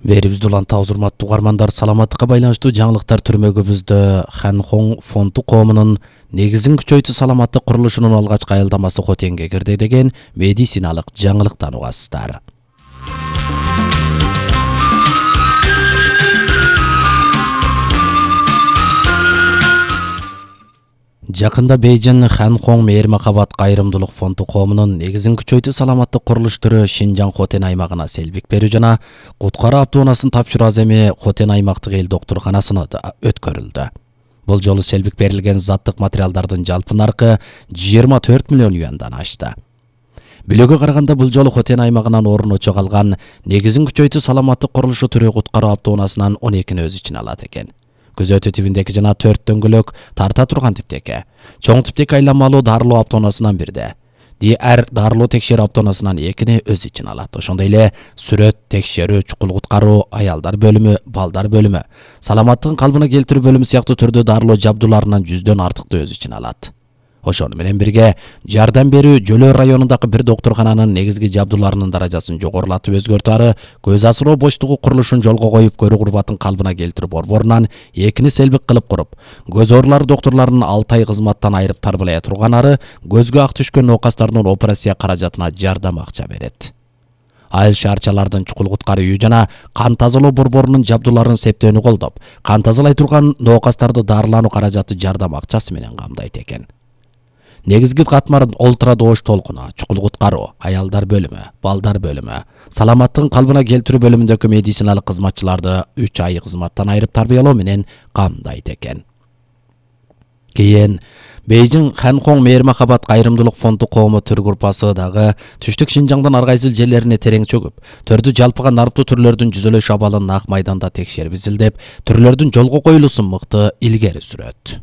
Берибизди улантабыз, урматтуу угармандар. Саламаттыкка байланыштуу жаңылыктар түрмөгүбүздө Ханхон фонду коомунун негизин күчөйтүү саламаттык курулушунун алгачкы аялдамасы Хотенге кирди деген медициналык жаңылыктан угасыздар. Жакында Бейжин Ханхон мейир-макабат кайрымдуулук фонду коомунун негизин күчөйтүү саламаттык курулуш түрү Шинжаң Хотен аймагына селбик берүү жана куткаруу автоунаасын тапшыруу аземи Хотен аймактык эл доктурканасына өткөрүлдү. Бул жолу селбик берилген заттык материалдардын жалпы наркы 24 миллион юандан ашты. Билүүгө караганда бул жолу Хотен аймагынан орун очо калган негизин күчөйтүү саламаттык курулушу түрү куткаруу автоунаасынан 12-ни өз ичине алат экен. Күзөтүү тибиндеки жана 4 дөңгөлөк тарта турган типтеки, чоң типтеки айланмалуу дарылоо автоунаасынан бирде. DR дарылоо текшерүү автоунаасынан 2-ни өз ичине алат. Ошондой эле сүрөт, текшерүү, чукул куткаруу, аялдар бөлүмү, балдар бөлүмү, саламаттыгын калыбына келтирүү бөлүмү сыяктуу түрдүү дарылоо жабдууларынан 100дөн артыктуу өз ичине алат. Ошону менен бирге жардам берүү Жөлөө районундагы бир доктуркананын негизги жабдууларынын даражасын жогорулатып өзгөртүү ары көз асыроо боштугу курулушун жолго коюп көрүү курбатын калыбына келтирүү борборунан 2-ни селбик кылып куруп, көз оорулары доктурларынын 6 ай кызматтан айрып тарбылая турган ары көзгө ак түшкөн оокастардын операция каражатына жардам акча берет. Айыл шаарчалардын чукул куткаруу үйү жана кан тазалоо борборунун жабдууларын септөөнү колдоп, кан тазалай турган оокастарды дарылануу каражаты жардам акчасы менен камдайт экен. Негизги катмар ультрадоош толкуну, чукул куткаруу, аялдар бөлүмү, балдар бөлүмү, саламаттыгын калыбына келтирүү бөлүмүндөгү медициналык кызматчыларды 3 ай кызматтан айрып тарбиялоо менен камдайт экен. Кийин Бейжин Ханхон мейир-макабат кайрымдуулук фонду коому түр группасы дагы түштүк Шинжаңдын ар кайсы жерлерине терең чөгүп, төрдү жалпыга наруптуу түрлөрдүн жүзөлөш абалын нак майданда текшерип изилдеп, түрлөрдүн жолго коюлуусун мыкты илгери сүрөт.